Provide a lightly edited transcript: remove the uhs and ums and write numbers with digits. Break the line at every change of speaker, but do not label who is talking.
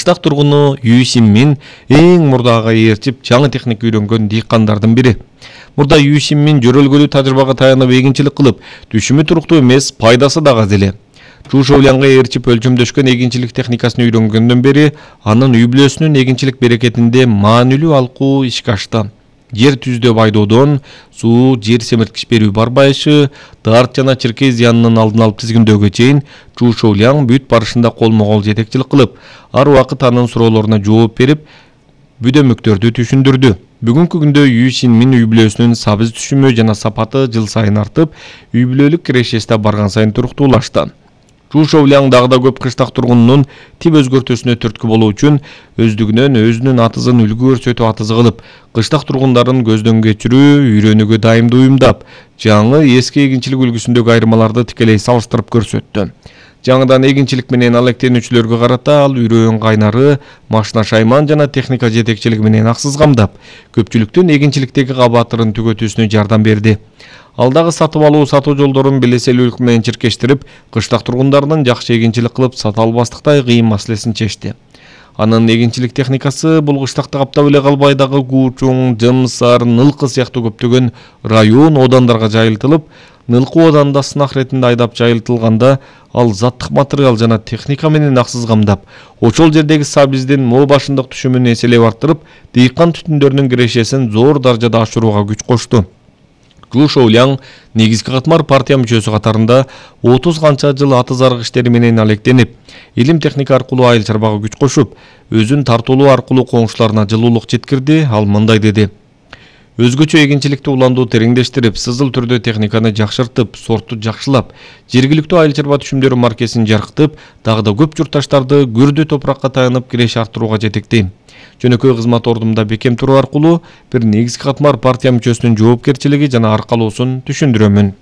Кыштак тургуну Юсин Мин эң мурдага ээрчип жаңы техника үйрөнгөн дыйкандардын бири. Мурда Юсин Мин жөрөлгөлүү тажрыйбага таянып эгинчилик кылып, түшүмү туруктуу эмес, пайдасы дагы аз эле. Чушоулянга ээрчип өлчөмдөшкөн эгинчилик техникасын үйрөнгөндөн бери анын үй бүлөсүнүн эгинчилик берекетинде маанилүү алкуу ишке ашты. Жер түздөө байдоодон суу, жер семирткич берүү барбайышы, дарт жана чиркей зыянынын алдын алып тизгиндөөгө чейин Чушоулян бүт барышында колмо-кол жетекчилик кылып, ар убакыт анын суроолоруна жооп берип, бүдөмүктөрдү түшүндүрдү. Бүгүнкү күндө Юсин Мин үй бүлөсүнүн сабыз түшүмү жана сапаты жыл сайын артып, үй бүлөлүк кирешеси барган сайын туруктуулашты. Чушоулян дагы да көп кыштак тургунунун тип өзгөртүүсүнө түрткү болуу үчүн өздүгүнөн өзүнүн атызын үлгү көрсөтүү атызы кылып, кыштак тургундарын көздөн кечирүү, үйрөнүүгө дайымдуу уюмдап, жаңы эски эгинчилик үлгүсүндөгү айырмаларды тикелей салыштырып көрсөттү. Жаңыдан эгинчилик менен алектенүүчүлөргө карата ал үйрөн кайнары, машина шайман жана техника жетекчилиги менен аксыз камдап, көпчүлүктүн эгинчиликтеги кабатырын түгөтүүсүнө жардам берди. Ал дагы сатып алуу сатуу жолдорун белеселүүлүк менен чиркештирип, кыштак тургундарынын жакшы эгинчилик кылып сата албастыктай кыйын маселесин чечти. Анын эгинчилик техникасы бул кыштакты каптап эле калбай дагы Куучуң, Жымсар, Нылкы сыяктуу көптөгөн район, одандарга жайылтылып, Нылкы оданында сынак иретинде айдап жайылтылганда, ал заттык материал жана техника менен аксыз камдап, ошол жердеги сабиздин моо башындык түшүмүн эселеп арттырып, дыйкан түтүндөрүнүн кирешесин зор даражада ашырууга күч кошту. Чушоулян негизги катмар партия мүчөсү катарында 30 канча жыл аты зарык иштери менен алектенип, илим техника аркылуу айыл чарбага күч кошуп, өзүн тартуулоо аркылуу коңшуларына жылуулук жеткирди. Ал мындай деди: өзгөчө эгинчиликти уландуу тереңдештирип, сызыл түрдө техниканы жакшыртып, сортту жакшылап, жергиликтүү айыл чарба түшүмдөрү маркесин жарктып, дагы да көп журтташтарды күрдө топуракка таянып киреше арттырууга жетектейм. Жөнөкөй кызмат ордумда бекем туруу аркылуу бир негизги катмар партия мүчөсүнүн жоопкерчилиги жана аркалоосун түшүндүрөмүн.